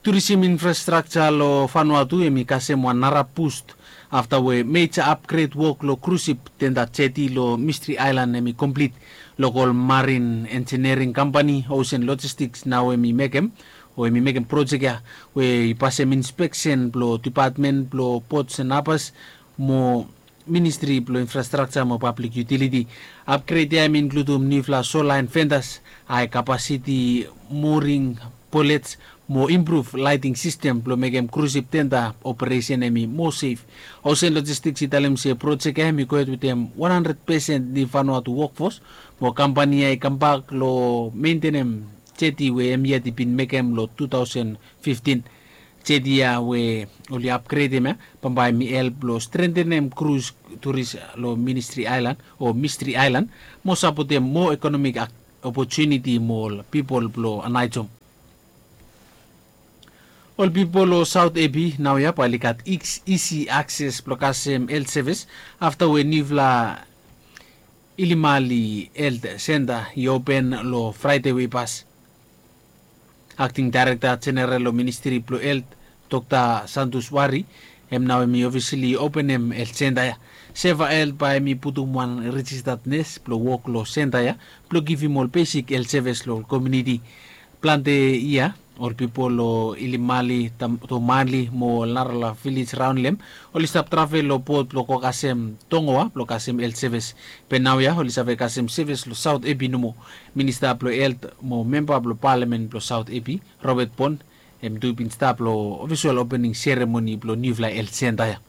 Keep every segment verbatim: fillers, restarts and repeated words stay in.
Turisim infrastrakja long Vanuatu hemi kasem wan nara bust afta we meja apgred wok long krusip tenda jeti long Mistri Aelan hemi komplit. Lokol marin enjiniering kampani Ocean Logistics nao hemi mekem o hemi mekem projek ya we i pasem inspeksen blong dipatmen blong Ports and Harbours mo Ministri blong Infrastrakja mo Pablik Yutiliti. Apgred ya hemi inkludum niufala solaen fentas, hae kapasiti moring bolets mo impruv laeting sistem blong mekem krusip tenda operesen hemi moa sef. Ocean Logistics i talem se projek ya hemi gohed wetem wan handred pesen niu Vanuatu wokfos mo kampani ya i kambak long mentenem jeti we hemi yet i bin mekem long tu taosen fiftin. Jeti ya we oli apgredem ya bambae hemi help long strentenem krus turis long Ministri Aelan o Mistri Aelan mo sapotem moa ekonomik opotuniti mo ol pipol blong Anaijom. Ol pipol long Saot Epi naoia bae oli gat isi akses blong kasem helt sevis afta we niufala Ilimali Helt Senta i open long Fraede we i pas. Akting Daerekta Jeneral long Ministri blong Helt, Dokta Santus Wari, hem nao hemi ofisali openem helt senta ya. Seva Helt bae hemi putum wan rejistad nes blong wok long senta ya blong givim ol besik helt sevis long ol komuniti. Plante yia ol pipol long Ilimali, Tomali mo ol narafala vilej raon long hem oli stap travel long bot blong go kasem tongoa blong kasem helt sevis. Be naoia oli save kasem sevis long Saot Epi nomo. Minista blong Helt mo memba blong palamen blong Saot Epi, Robert Bon, hem tu i bin stap long ofisol opening seremoni blong niufala helt senta ya.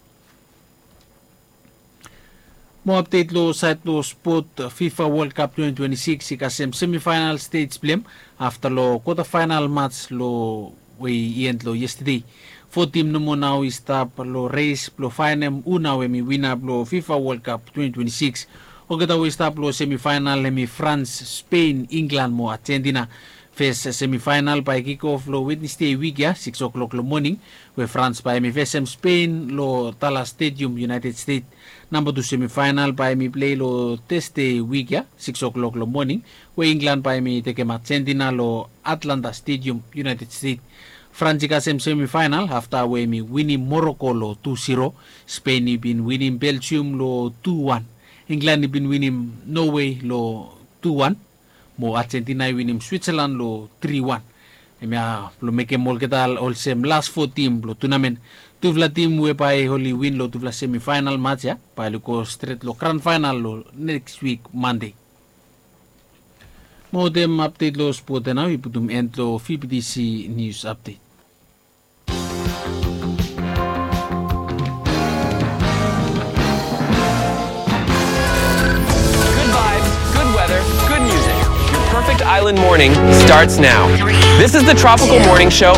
Mo apdet long saed blong spot, Fifa World Cup twenty twenty-six i kasem semifaenal stej blong hem afta long kwota faenal mats long we i end long yestade. Fo tim nomo nao i stap long res blong faenem hu nao hemi wina blong Fifa World Cup twenty twenty-six. Olgeta we i stap long semifaenal hemi Frans, Spen, Inglan mo Ajentina. Fes semifaenal bae i kikof long Wednesde wik ya sikis oklok long moning, we Frans bae hemi fesem Spen long Dallas Stadium, United States. Namba tu semifaenal bae hemi plei long Tasde wik ya sikis oklok long moning, we Inglan bae hemi tekem Ajentina long Atlanta Stadium, United States. Frans i kasem semifaenal afta we hemi winim Moroko long tu siro. Spen i bin winim Beljium long tu wan. Inglan i bin winim Nowe long tu wan. Mo Ajentina i winim Switsalan long tri wan. Hemia blong mekem olgeta olsem las fo tim blong tunamen. Tufala tim we bae oli win long tufala semifaenal mats ya bae oli go stret long gran faenal long neks wik Mande. Mo wetem apdet long spot ya nao i putum en long V B T C Nius Apdet. Good vibes, good weather, good music. Your perfect island morning starts now. This is the Tropical Morning Show